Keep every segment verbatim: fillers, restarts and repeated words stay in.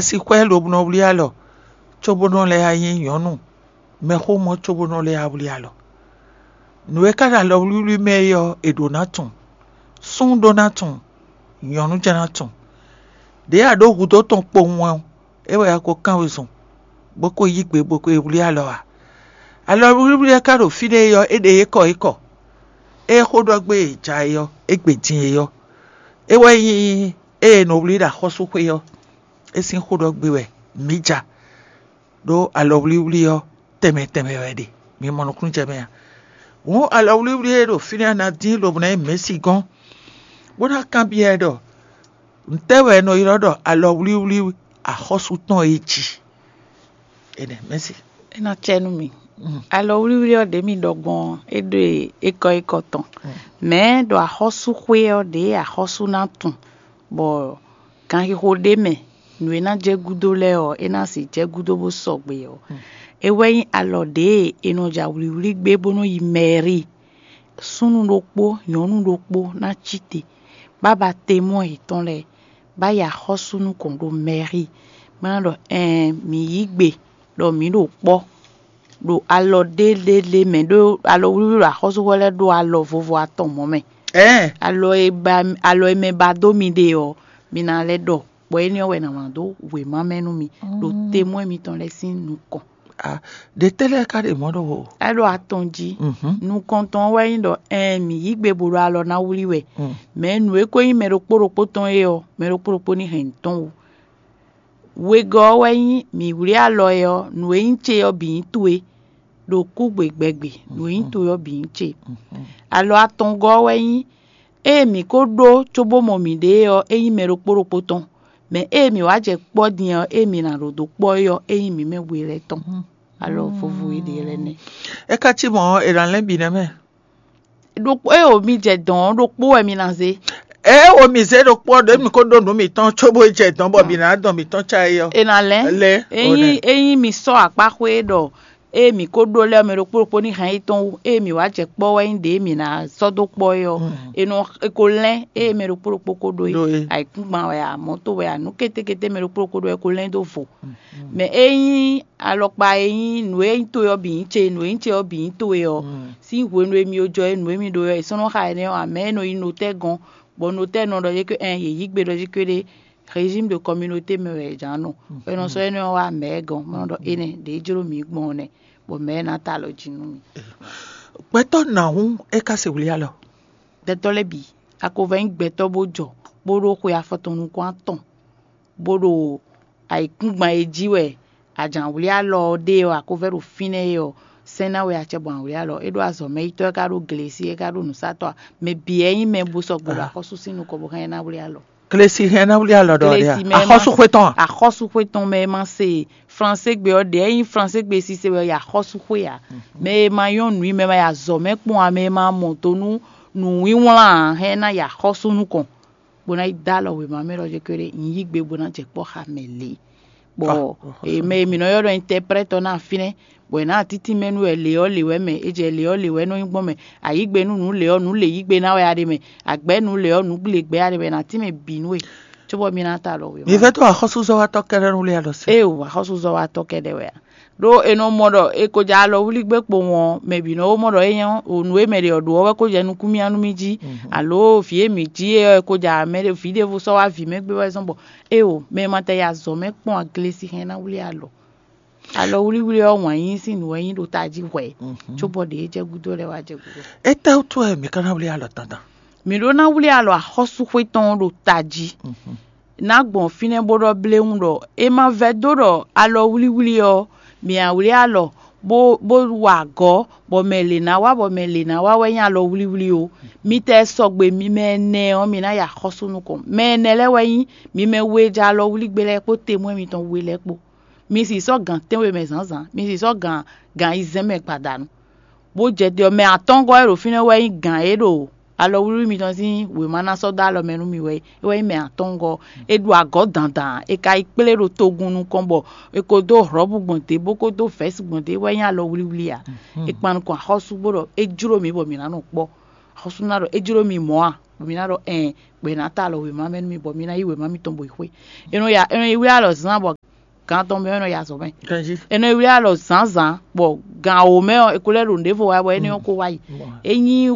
Sixwɛ lobnɔ wlí alɔ, cóbónɔ lɛ́ɛ nyí nyɔ̌nu mɛxómɔ cóbónɔ lɛ́ɛ wlí alɔ. Nǔ e ka ɖo alɔwlíwlí mɛ é ɔ́, è ɖǒ ná tunwun. Súnnu ɖó ná tunwun, nyɔ̌nu jɛ́n ná tunwun. Ɖěe a ɖǒ hudó tɔn kpowun ɔ́, é wɛ a ko kán wezun, bó ko yí gbe bó ko yi wlí alɔ ǎ. Alɔwlíwlí ɔ́ ka ɖo fínɛ́ é ɔ́, é ɖe é kɔ é kɔ. Ée xó ɖɔ gbé e ja é ɔ́, é gbe din é ɔ́, é wɛ nyí ée è nɔ wlí ɖo axɔ́súxwé ɔ́, é sín xó ɖɔ gbé wɛ mǐ ja. Ɖó alɔwlíwlí ɔ́, tɛnmɛ tɛnmɛ wɛ ɖe, mi mɔ nukúnnú jɛ mɛ a? Hǔn alɔwlíwlí e ɖo fínɛ́ ná dín lobo ná nyí mɛ̌si gɔ́n, bó ná kanbyɔ́ ɛ ɖɔ: Ntɛ́ wɛ è nɔ ylɔ́ ɖɔ alɔwlíwlí axɔ́sú tɔn é jí? Énɛ́, mɛ̌si. É ná cɛ nú mi. Alɔwlíwlí ɔ́ ɖě mi ɖɔ gbɔn ɔ́, é ɖo é kɔ é kɔ tɔn. Mɛ̌ ɖo axɔ́súxwé ɔ́ ɖě axɔ́sú ná tunwun, bɔ ganxixo ɖé mɛ nǔ e ná jɛ gúdo lɛ́ɛ ɔ́, é ná sixú jɛ gúdo bó sɔgbe ɔ́. É wɛ nyí alɔ ɖě è nɔ ja wlǐwlí gbé bó nɔ́ yi mɛ̌ri. Súnnu ɖokpó, nyɔ̌nu ɖokpó ná cí te, bó ná ba temɔ́ yětɔn lɛ́ɛ, bó ná yi axɔ́sú nukɔn ɖo mɛ̌ri, bó ná ɖɔ: Ɛɛn, mǐ yí gbe ɖɔ mǐ ɖo kpɔ́ ɖo alɔ ɖé ɖé ɖé mɛ, ɖó alɔwlíwlí ɖo axɔ́súxwé lɛ́ɛ ɖó alɔ vovo atɔn mɔ̌ mɛ. Ɛɛn, alɔ e ba alɔ e mɛ ba dó mi ɖe ɔ́, mi ná lɛ́ ɖɔ, bɔ énɛ́ ɔ́ wɛ è nǎ wlán dó wěma mɛ nú mi ɖo temɔ́ mitɔn lɛ́ɛ sín nukɔn. Ɖě tɛ́ lɛ́ɛ ka ɖe mɔ̌ ɖɔhun? É ɖo atɔn jí. Nukɔntɔn ɔ́ wɛ nyí ɖɔ: Ɛɛn, mǐ yí gbe bo ɖo alɔ ná wlí wɛ. Mɛ̌ nǔ e ko nyí mɛ ɖokpó ɖokpó tɔn é ɔ́, mɛ ɖokpó ɖokpó ní hɛn nǔ tɔn wú. Wegɔ́ ɔ́ wɛ nyí mǐ wlí alɔ ɛ ɔ́, nǔ e nyí ce ɔ́ bǐ nyí towe, ɖo kúgbe gbɛgbe, nǔ e nyí towe ɔ́ bǐ nyí ce. Alɔ atɔngɔ́ ɔ́ wɛ nyí: Ée mǐ ko ɖó cóbó mɔ mǐɖée ɔ́, é nyí mɛ ɖokpó ɖokpó tɔn; mɛ ée mǐ wá jɛ kpɔ́ din ɔ́, ée mǐ ná ɖo dó kpɔ́ é ɔ́, é nyí mǐ mɛ we lɛ́ɛ tɔn. Alɔ vovo e ɖe lɛ́ɛ nɛ́. É ka cí mɔ̌ ɔ́, è nǎ lɛ́n bǐ nɛ́ mɛ. Ɖokpó ée wǒ mi jɛ dɔ̌n ɔ́, ɖokpó wɛ mi ná zé. Ée wǒ mi zé ɖokpó ɔ́, ɖě mi ko ɖó nǔ mǐtɔn cóbó yi jɛ dɔ̌n bɔ mǐ ná dɔn mǐtɔn cá é ɔ́. È nǎ lɛ́n. Lɛ́n, ényí ényí mi sɔ́ akpá xwé ɖɔ ée mǐ ko ɖó lɛ́ɛ ɔ́, mɛ ɖokpó ɖokpó ní hɛn yi tɔn wú, ée mǐ wá jɛ kpɔ́ wɛ nyí ɖě mǐ ná sɔ́ dó kpɔ́ é ɔ́, è nɔ è ko lɛ́n, ée mɛ ɖokpó ɖokpó ko ɖó é. Ɖó é. Ayǐkúngban wɛ a, mɔ̌to wɛ a, nǔ kétékété mɛ ɖokpó ɖokpó ɖó é ko lɛ́n dó vo. Mɛ ényí alɔkpa e nyí nǔ e nyí towe ɔ́ bǐ nyí ce, nǔ e nyí ce ɔ́ bǐ nyí towe ɔ́, sín hwenu e mi jɔ é nǔ e mi ɖó ɔ́, è sɔ́ nɔ xa énɛ́ ɔ́, amɛ̌ e nɔ yi notɛ́ gɔ́n, bɔ notɛ́ nɔ ɖɔ yě ké ɛn yě yí gbe ɖɔ yě ké ɖé, régime de communauté mɛ wɛ è jǎn nɔ. Bɔ è nɔ sɔ́ énɛ́ ɔ́ wá mɛ̌ gɔ́n, bɔ nɔ ɖɔ énɛ́ ɖě jló mǐ gbɔn ɔ́ nɛ́, bɔ mɛ̌ ná ta alɔ jí nú mì. Gbɛtɔ́ nǎ hún é ka se wlí alɔ? Gbɛtɔ́ lɛ́ɛ bǐ, a ko vɛ́ nyí gbɛtɔ́ bó jɔ, bó ɖó xwe afɔtɔn nukún atɔn, bó ɖo ayǐkúngban e jí wɛ a jǎn wlí alɔ ɔ́ ɖe ɔ́, a ko vɛ́ ɖo fínɛ́ é ɔ́, sɛ́n ná we acɛ gbɔn awlí alɔ. É ɖó azɔ̌mɛyítɔ́, é ka ɖó glesi, é ka ɖó nǔsatɔ́ ǎ. Mɛ bǐ wɛ nyí mɛ bó sɔgbe ɖo axɔ́sú sín nukɔn bó hɛn ná wlí alɔ. Glesi hɛn ná wlí alɔ ɖɔ ɖe a? Glesi mɛ ma Axɔ́súxwé tɔn a? Axɔ́súxwé tɔn mɛ ma se fransé gbe ɔ́ ɖě, é nyí fransé gbe sise wɛ yi axɔ́súxwé ǎ. Mɛ e ma nyɔ́ nǔ i mɛ ma yi azɔ̌ mɛ kpɔ́n ǎ, mɛ e ma mɔ do nú nǔwínwlán ǎ, hɛn ná yi axɔ́sú nukɔn, bó ná yi dó alɔ wěma mɛ ɖɔ jɛ kéré, un yí gbe bó ná jɛ kpɔ́ xa mɛ lě. Bɔ mɛ e mǐ nɔ ylɔ́ ɖɔ intɛprɛ́tɔ ná fínɛ́, bɔ è nǎ títí mɛ nú wɛ lě ɔ́ lě wɛ mɛ, é jɛ lě ɔ́ lě wɛ nɔ nyí gbɔn mɛ. Ayǐgbe nú nǔ lě ɔ́, nǔ lě yí gbe ná wɛ a ɖe mɛ. Àgbɛ̌ nǔ lě ɔ́, nǔ lě gbɛ a ɖe mɛ, è nǎ tín mɛ bǐ nú we, cóbɔ mì ná ta alɔ wě. Mi vɛ́ tó axɔ́súzɔ́watɔ́ kɛ́ɖɛ́ nú wlí alɔ se. Ée o, axɔ́súzɔ́watɔ́ kɛ́ɖɛ́ wɛ a? Ɖó è nɔ mɔ ɖɔ è ko jɛ alɔ wlí gbé kpowun ɔ́, mɛ bǐ nɔ ó mɔ ɖɔ é nyɔ́, o nǔ e mɛ ɖě ɔ́ ɖó ɔ́ wɛ ko jɛ nukún mì nu mì jí, alo vǐ e mǐ jí é ɔ́, è ko jɛ mɛ ɖé vǐ ɖěvo sɔ́ wá vǐ mɛ gbé wɛ zɔ́n bɔ, ée o, mɛ e ma tɛ yi azɔ̌ mɛ kpɔ́n a, glesi hɛn ná wlí alɔ. Alɔ wlíwlí ɔ́, wǎn yíyí sín nǔ wɛ nyí ɖo tají hwɛ̌, cóbɔ ɖě e jɛ gúdo lɛ́ɛ wá jɛ gúdo. Étɛ́wútu wɛ mǐ ka ná wlí alɔ dandan? Mǐ ɖó ná wlí alɔ axɔ́súxwé tɔn ɔ́ ɖo tají. Ná gbɔn fínɛ́ bó ɖɔ bléwún ɖɔ é ma vɛ́ dó ɖɔ alɔ wlíwlí ɔ́, mǐ á wlí alɔ bó bó wa agɔ̌, bɔ mɛ lě ná wá, bɔ mɛ lě ná wá wɛ nyí alɔ wlíwlí ó. Mi tɛ sɔgbe mi mɛ ɛnɛ ɔ́, mi ná yi axɔ́sú nukɔn. Mɛ ɛnɛ lɛ́ɛ wɛ nyí mi mɛ we e jɛ alɔ wlí gbé lɛ́ɛ kpó temwɛ́ mitɔn we lɛ́ɛ kpó. Mi sì sɔ́ gǎn tɛ́nwe mɛ zǎnzǎn, mi sì sɔ́ gǎn gǎn ayizɛ́n mɛ gbadanu, bó jɛ te ɔ́, mɛ atɔ́ngɔ́ e ɖo fínɛ́ wɛ nyí gǎn e ɖo alɔwlíwlí mitɔn sín wěma ná sɔ́ dó alɔ mɛ nú mi wɛ é. É wɛ nyí mɛ atɔ́ngɔ́ ɔ́. È ɖu agɔ̌ dandan, è ka yi kplé ɖo togun nukɔn bɔ è ko dó hlɔ̌bu gbɔn dě bó ko dó vɛ̌si gbɔn dě, é wɛ nyí alɔwlíwlí ǎ. È kpan nukɔn axɔ́sú bó ɖɔ é jló mǐ bɔ mǐ ná nɔ kpɔ́. Axɔ́sú ná ɖɔ é jló mi mɔ̌ a? bɔ mi ná ɖɔ ɛn, bɔ è nǎ ta alɔ wěma mɛ nú mi, bɔ mi ná yí wěma mitɔn bɔ yi xwé. È nɔ ya è nɔ yi wlí alɔ zán bɔ gan tɔn mɛ ɔ́, è nɔ ya azɔ̌ mɛ. È nɔ yi wlí alɔ zǎnzǎn bɔ gan wǒ mɛ ɔ́, è ko lɛ́ ɖo nǔɖévo wa bɔ énɛ́ ɔ́ ko wá yi. É nyí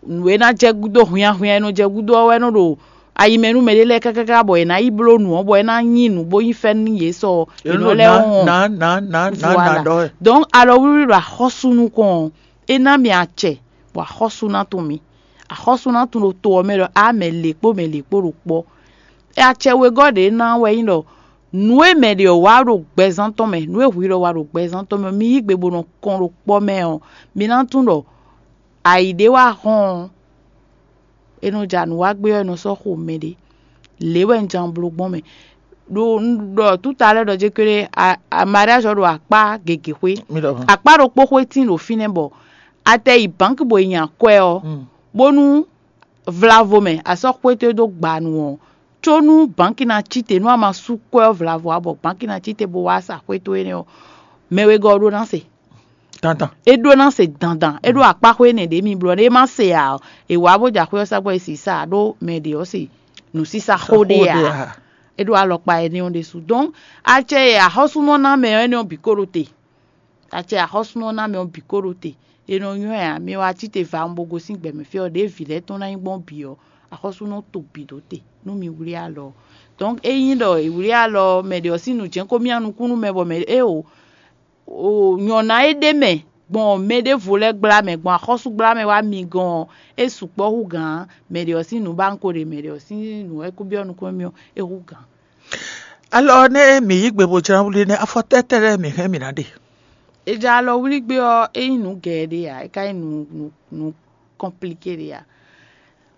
nǔ e ná jɛ gúdo hwinnyahwinnya e nɔ jɛ gúdo ɔ́ wɛ nɔ ɖo ayi mɛ nú mɛɖé lɛ́ɛ kákáká bɔ è nǎ yi bló nǔ ɔ́, bɔ é ná nyí nǔ bó nyí fɛ́nú nú yě sɔ è nɔ lɛ́ wɔn. Voilà. Donc alɔ wlíwlí ɖo axɔ́sú nukɔn ɔ́, é ná mi acɛ, bɔ axɔ́sú ná tunwun mi. Axɔ́sú ná tunwun ɖo to ɔ́ mɛ ɖɔ á mɛ lě kpó mɛ lě kpó ɖo kpɔ́. Acɛ wegɔ́ ɖě ná wɛ nyí ɖɔ nǔ e mɛ ɖě ɔ́ wa ɖo gbɛzán tɔn mɛ, nǔ e hwi ɖɔ wa ɖo gbɛzán tɔn mɛ, mi yí gbe bó nɔ kɔn ɖo kpɔ́ mɛ ɔ́, mi ná tunwun ɖɔ ayǐ ɖé wá hɔn ɔ́, è nɔ ja nǔ wa gbé ɔ́, è nɔ sɔ́ xo mɛɖé. Lě wɛ un ján bló gbɔn mɛ. Ɖo un ɖɔ túta lɛ́ɛ ɖɔ jé kéré, mariage ɔ́ ɖo akpá gěgé xwé. Akpá ɖokpó xwé tín ɖo fínɛ́ bɔ a tɛ yi bǎnki bɔ è nya kwɛ ɔ́, bónú vlavo mɛ a sɔ́ xwé towe dó gba nu ɔ́, có nú bǎnki ná cí te, nú a ma sú kwɛ ɔ́ vlavo ǎ bɔ bǎnki ná cí te bó wá sa xwé towe énɛ́ ɔ́, mɛ wegɔ́ ɔ́ ɖó ná se. Dandan. É ɖó ná se dandan. É ɖó akpáxwé énɛ́ ɖě mi blɔ ɖé é má se ǎ ɔ́, è wǎ bó jɛ axwé ɔ́ sá gbɔ è sì sa ǎ ɖó mɛ ɖě ɔ́ se nǔsísá xó ɖé ǎ. É ɖó alɔkpa énɛ́ ɔ́ ɖésú. Donc acɛ e axɔ́súnɔ ná mɛ ɔ́ énɛ́ ɔ́ bǐ ko ɖo te. Acɛ axɔ́súnɔ ná mɛ ɔ́ bǐ ko ɖo te. È nɔ nywɛ́ ǎ, mi wá cí te va bo gosín gbɛ̌mɛ fí ɔ́, ɖěe vǐ lɛ́ɛ tɔn ná nyí gbɔn bǐ ɔ́, axɔ́súnɔ to bǐ ɖó te nú mi wlí alɔ ɔ́. Donc ényí ɖɔ è wlí alɔ ɔ́, mɛ ɖě ɔ́ sín nǔ jɛ́n ko myá nukún nú mɛ bɔ mɛ ɖé o, nyɔ̌ná e ɖ'é mɛ gbɔn mɛ ɖěvo lɛ́ɛ gbla mɛ, gbɔn axɔ́súgbla mɛ wá mi gɔ́n ɔ́, é sukpɔ́ hú gǎn mɛ ɖě ɔ́ sín nǔ ba un ko ɖe mɛ ɖě ɔ́ sín nǔ wɛ kó byɔ́ nukúnmɛ mì ɔ́, é hú gǎn. Alɔ nɛ́ mǐ yí gbe bó jlá wlí nɛ́, afɔ tɛ́tɛ́ lɛ́ɛ mǐ hɛn mǐ ná ɖe? È jɛ alɔ wlí gbé ɔ́, é nyí nǔ gɛɛ ɖé ǎ, é ka nyí nǔ nǔ nǔ kɔnplíké ɖé ǎ.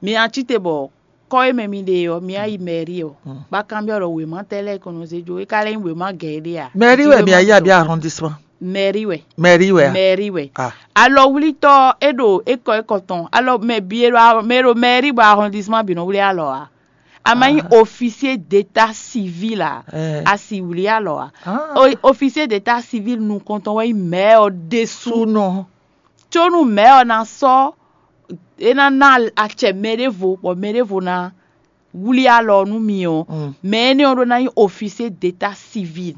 Mi ná cí te bɔ kɔ́ e mɛ mi ɖe ɔ́, mi ná yi mɛ̌ri ɔ́, bá kanbyɔ́ ɖɔ wěma tɛ́ lɛ́ɛ kɔn nɔ zé jó, é ka lɛ́ nyí wěma gɛ̌ ɖé ǎ. Mɛ̌ri wɛ mi ayé abí arrondissement? Mɛ̌ri wɛ. Mɛ̌ri wɛ a? Mɛ̌ri wɛ. Ah. Alɔwlítɔ́ é ɖo ékɔ ékɔ tɔn, alɔ mɛ bǐ e ɖo mɛ e ɖo mɛ̌ri bɔ arrondissement bǐ nɔ wlí alɔ ǎ. A ma nyí officier d'état civil ǎ, a sì wlí alɔ ǎ. Officier d'état civil nukɔntɔn wɛ nyí mɛ̌ ɔ́ ɖésú. Súnɔ. Có nú mɛ̌ ɔ́ ná sɔ́ é ná ná acɛ mɛ ɖěvo bɔ mɛ ɖěvo ná wlí alɔ nú mi ɔ́, mɛ énɛ́ ɔ́ ɖó ná nyí officier d'état civil.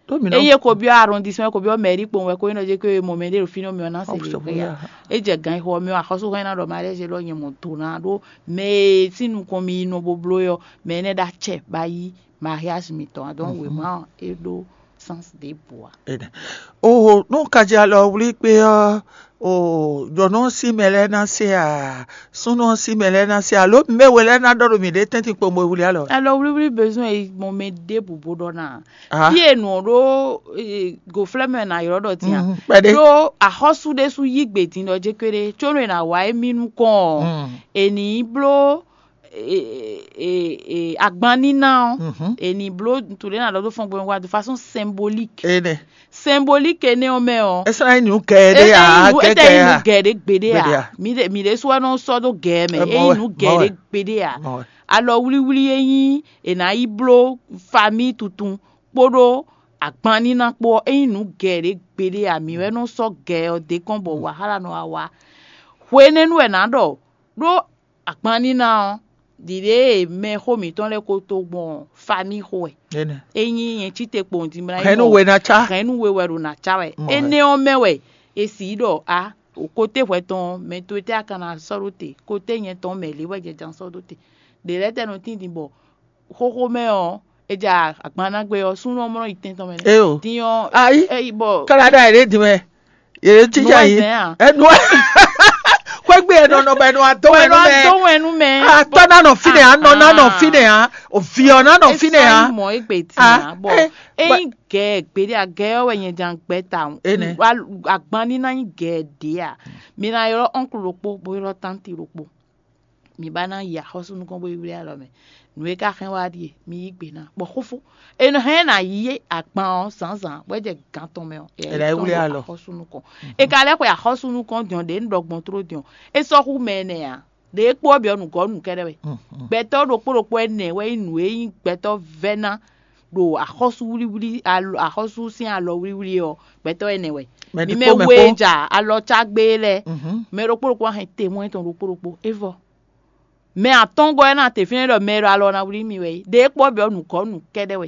Ényí é ko byɔ́ arrondissement, é ko byɔ́ mairie kpowun wɛ, ko nyí ɖɔ jɛ ko mɔ mɛ ɖé ɖo fínɛ́ mɛ ɔ́ ná se lě xwe ǎ. É jɛ gan xo ɔ́ mɛ ɔ́, axɔ́súxɔ ná ɖɔ mariage élɔ́ nyɛ mɔ do ná ɖó mɛ e sín nukɔn mi yi nɔ bo bló é ɔ́, mɛ énɛ́ ɖo acɛ ba yí mariage mitɔn ǎ. Donc wěma ɔ́ é ɖó sens ɖěbǔ ǎ. Oho, nú un ka jɛ alɔ wlí kpé ɔ́, o nyɔ̌nu ɔ́ sín mɛ lɛ́ɛ ná se a, súnnu ɔ́ sín mɛ lɛ́ɛ ná se a, lǒ mɛ we lɛ́ɛ ná ɖɔ ɖo mǐɖée tɛ́ntin kpowun bo wlí alɔ. Alɔ wlíwlí bezoin e gbɔn mɛ ɖěbǔ bó ɖɔ ná. Fí e nǔ ɔ́ ɖó gǒflɛ́ mɛ ná ylɔ́ ɖɔ din a? Kpɛɖé. Ɖó axɔ́sú ɖésú yí gbe din ɖɔ jé kpéɖé, có nú è nǎ wa émí nukɔn ɔ́, è nǐ bló agban níná ɔ́, è nǐ bló nǔ ɖé ná ɖɔ dó fɔ́n gbɛmɛ wá de façon symbolique. Énɛ́. Symbolique énɛ́ ɔ́ mɛ ɔ́, é sɔ́ ná nyí nǔ gɛ́ ɖé ǎ, é tɛ́ nyí nǔ gɛ́ ɖé gběɖé ǎ. Mǐ ɖe- mǐ ɖésú wɛ nɔ sɔ́ dó gɛ́ mɛ, é nyí nǔ gɛ́ ɖé gběɖé ǎ. Alɔ wlíwlí e nyí è nǎ yi bló famille tuntun kpóɖó agban níná kpó ɔ́, é nyí nǔ gɛ́ ɖé gběɖé ǎ. Mǐ wɛ nɔ sɔ́ gɛ́ ɔ́ dé kɔn bɔ wǎxála nɔ wá wá. Hwenɛ́nu wɛ nǎ ɖɔ ɖó agban níná ɔ́, ɖiɖe e mɛxó mǐtɔn lɛ́ɛ ko to gbɔn famille xo wɛ. Ényí nyɛ cí te kpowun din mla hɛn nú we ná cá. Hɛn nú we wɛ ɖo nǎ cá wɛ. Énɛ́ ɔ́ mɛ wɛ è sǐ ɖɔ a, kote hwɛ tɔn mɛ towe tɛ́ a ka ná sɔ́ ɖó te, kote nyɛ tɔn mɛ lě wɛ jɛ ján sɔ́ ɖó te. Ɖě lɛ́ɛ tɛ́ nɔ tín din bɔ xóxó mɛ ɔ́, è ja agban ná gbé ɔ́, súnnu ɔ́ mɔ nɔ yi tɛn tɔn mɛ nɛ́. Din ɔ́, ayi, é yi bɔ kára ɖa yě ɖě din mɛ. Yě cí ja yi. Ẹnu xwégbé ɛ nɔnɔ bɛ nɔ adó wɛ nú mɛ. Adó wɛ nú mɛ. Atɔ ná nɔ fínɛ á, nɔ ná nɔ fínɛ á, òvì ɔ ná nɔ fínɛ á. Mɔ égbè tí a bɔ eyin gɛ gbéɖé a gɛ ɔ́ wɛ nyɛ jan gbɛ ta. Agban ní ná nyí gɛ ɖě a, mi ná ylɔ́ ɔnklu ɖokpó bó ylɔ́ tánti ɖokpó. Mi ba ná yi axɔ́sú nukɔn bó yi wlí alɔ mɛ. Nǔ e ka hɛn wá ɖíe, mi yí gbe ná bɔ xófó. È nɔ hɛn ná yí agban ɔ́ zǎnzǎn bɔ é jɛ gǎn tɔn mɛ ɔ́, è nǎ yi wlí alɔ axɔ́sú nukɔn. È ka lɛ́ xwe axɔ́sú nukɔn dɔn ɖě un ɖɔ gbɔn tló dɔn. É sɔ́ xú mɛ ɛnɛ ǎ. Ɖě kpó ɔ́ bǐ ɔ́ nǔgɔ́ nǔ kɛ́ɖɛ́ wɛ. Gbɛtɔ́ ɖokpó ɖokpó ɛnɛ wɛ nyí nǔ e nyí gbɛtɔ́ vɛ́ ná ɖo axɔ́súwlíwlí axɔ́sú sín alɔwlíwlí ɔ́, gbɛtɔ́ ɛnɛ wɛ. Mi mɛ we ja alɔ cá gbé lɛ́ɛ, mɛ ɖokpó ɖokpó wá hɛn temwɛ́ tɔn ɖokpó ɖokpó, é vɔ. Mɛ atɔ́ɔ́ngɔ́ ɔ́ ná te fínɛ́ ɖɔ mɛ e ɖo alɔ ná wlí mì wɛ é. Ɖě kpɔ́ bǐ ɔ́, nǔkɔ́nú kɛ́ɖɛ́ wɛ.